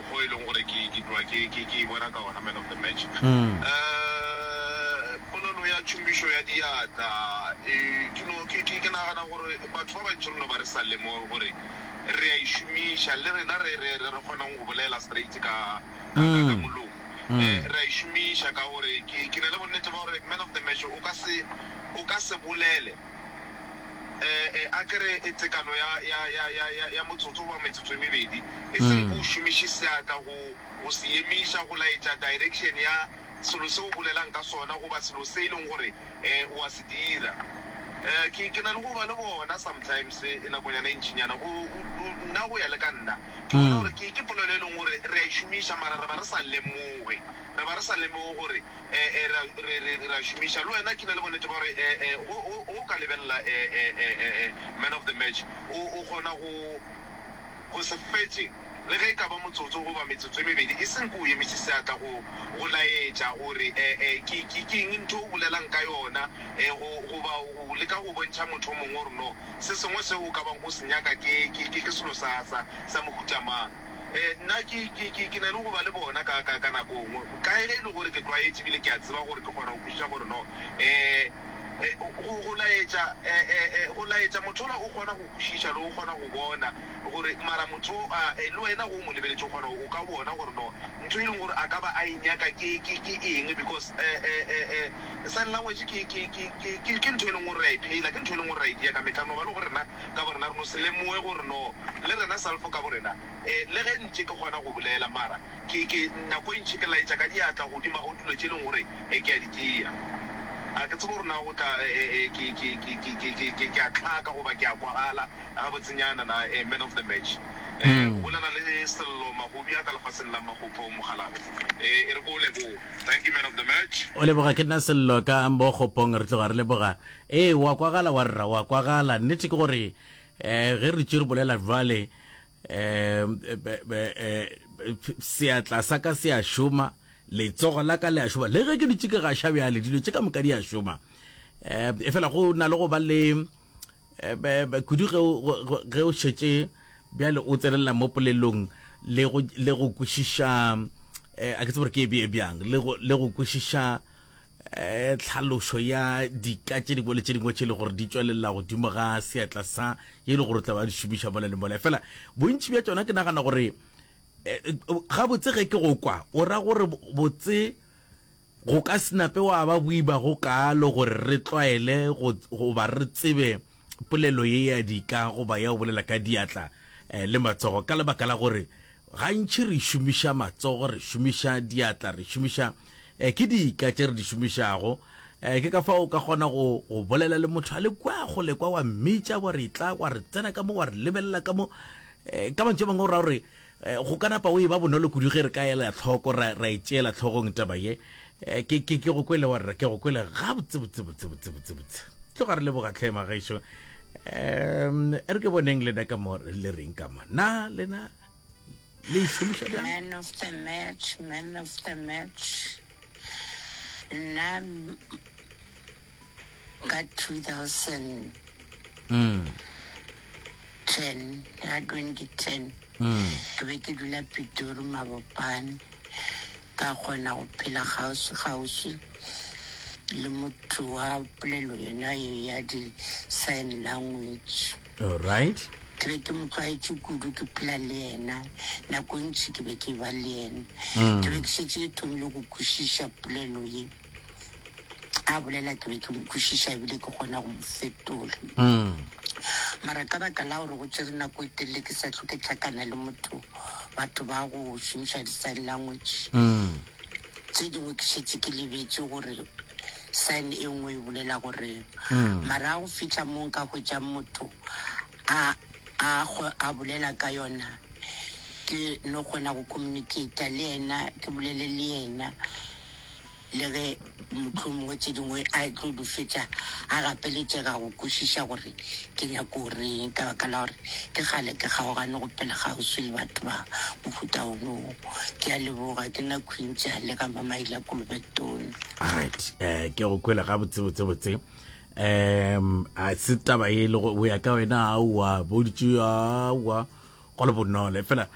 mokgwa o e leng gore ke ke tloga ke ke ke e bona ka gona man of the match. Eh, polelo ya tšhomišo ya diatla e ke no ke ke ke nagana gore batho ba bantši re no ba re sa lemoge gore re a e šomiša le rena re re re re kgonang go bolela straight ka ka ka ka molomo. Eh, re a e šomiša ka gore ke ke na le bonnete ba gore man of the match o ka se o ka se bolele a ke re tekano ya, ya, ya, ya, ya, ya motsotso goba metsotso e mebedi, e seng o šomiše seatla go, go se emiša, go laetša direction ya selo se o bolelang ka sona goba selo se e leng gore o a se dira. Ke, ke na le go ba le bona sometimes nakonyana e ntšinyana, go, go, nna go ya le ka nna, ke bona gore ke, ke polelo e leng gore re a e šomiša mara re ba re sa lemoge, re ba re sa lemoge gore Re, re, re, re a šomiša. Le wena ke na le bonnete ba gore go, go, go ka lebelela man of the match, o, o kgona go, go se fetše le ge e ka ba motsotso goba metsotso e mebedi, e seng ke o emiše seatla go, go laetša gore ke, ke, ke eng ntho o bolelang ka yona, go, goba go leka go bontšha motho o mongwe gore no, se sengwe seo o ka bang o se nyaka ke, ke, ke, ke selo sa, sa, sa mohuta mang. Nna ke, ke, ke, ke na le go ba le bona ka, ka, ka nako nngwe, ka ge e le gore ke tlwaetše ebile ke a tseba gore ke kgona go kwešiša gore no, go, go laetša, go laetša motho ola o kgona go kwešiša le go kgona go bona gore, mara motho o, a, le wena ge o mo lebeletše o kgona, o ka bona gore no, ntho e leng gore a ka ba a e nyaka ke, ke, ke eng, because, sign language ke, ke, ke, ke, ke, ke ntho e leng gore re a e phela, ke ntho e leng gore re a e dia ka mehla, no ba le gore rena ka borena re no se lemoge gore no, le rena self ka borena, le ge ntše ke kgona go bolela, mara ke, ke, nako e ntši ke laetša ka diatla godimo ga dilo tše e leng gore ke a di tšea. A ke tsebe gore na go tla, ke, ke, ke, ke, ke, ke, ke, ke a hlaka goba ke a kwagala gabotsenyana na, man of the match. Go bolela le Sello Magobi a ka lefaseng la Magopho, Mokgalabje. E re ke o leboge. Thank you, man of the match. O leboga ke nna Sello ka Mogopong, re tloga re leboga. Ee, wa kwagala wa rra, wa kwagala. Nnete ke gore um ge re tše re bolela jwale um seatla sa ka se a šoma, letsogo la ka le a šoma, le ge ke dutše ke gaša bjale, dilo tše ka moka di a šoma. Um efela go na le go ba le kudu ge o šetše bjale o tsenelela mo polelong le go le go kwešiša a ke tsebe gore ke e bee bjang le go le go kwešiša eh tlhalošo ya dika tše dingwe le tše dingwe tše e le gore di tšwelela godimo ga seatla sa ye e le gore o tla ba di šomiša mola le mola fela bontši bja tšona ke nagana gore gabotse ge ke go kwa o ra gore botse Go ka se nape wa ba boima go kaalo gore re tlwaele go, goba re tsebe polelo ye ya dika goba ya go bolela ka diatla le matsogo ka lebaka la gore gantši re šomiša matsogo, re šomiša diatla, re šomiša ke dika tše re di šomišago. Ke ka fao o ka kgona go, go bolela le motho a le kwa kgole kwa, wa mmitša wa re etla, wa re tsena ka mo, wa re lebelela ka mo. Ka mantšu a mangwe o ra gore Go ka napa o e ba bonolo kudu ge re ka ela hloko, ra, ra e tšeela hlogong taba ye. Ke, ke, ke go kwele wa rra, ke go kwele gabotse, botse, botse, botse, botse, botse. Tloga re leboga tlhe magešo. Um, e re ke boneng lena ka mo le reng ka mo. Na lena le e šomiša bjang? Man of the match, man of the match. Nna ka 2010 ka 2010 ke be ke dula Pitori Mabopane ka kgona go phela kgauswi-kgauswi le motho wa polelo yona ye ya di-sign language. Alright. Ke be ke mo tlwaetše kudu ke phela le yena nako e ntši ke be ke ba le yena. Ke be ke šetše ke thomile go kwešiša polelo ye. A bolela ke be ke mo kwešiša ebile ke kgona go mo fetola. Mara ka baka la gore go tšere nako e telele ke sa hlwe ke hlakana le motho, batho ba go šomiša di-sign language, tše dingwe ke šetše ke lebetše gore sign e nngwe e bolela goreng. Mara ga go fihla mo nka hwetšang motho a, a, a bolela ka yona, ke no kgona go communicate-a le yena, ke bolele le yena. Le ge mohlomongwe tše dingwe a tlo di fetša a gapeletšega go kwešiša gore ke nyako reng ka baka la gore ke kgale ke kgaogane go phela kgauswi le batho ba mohuta wono. Ke a leboga, ke nna Queen Tjale ga Mamaila Kolobetone. Alright, eh ke go kwele ga botse botse botse. Um a se taba e le go ya ka wena aowa boditše aowa go le bonolo fela.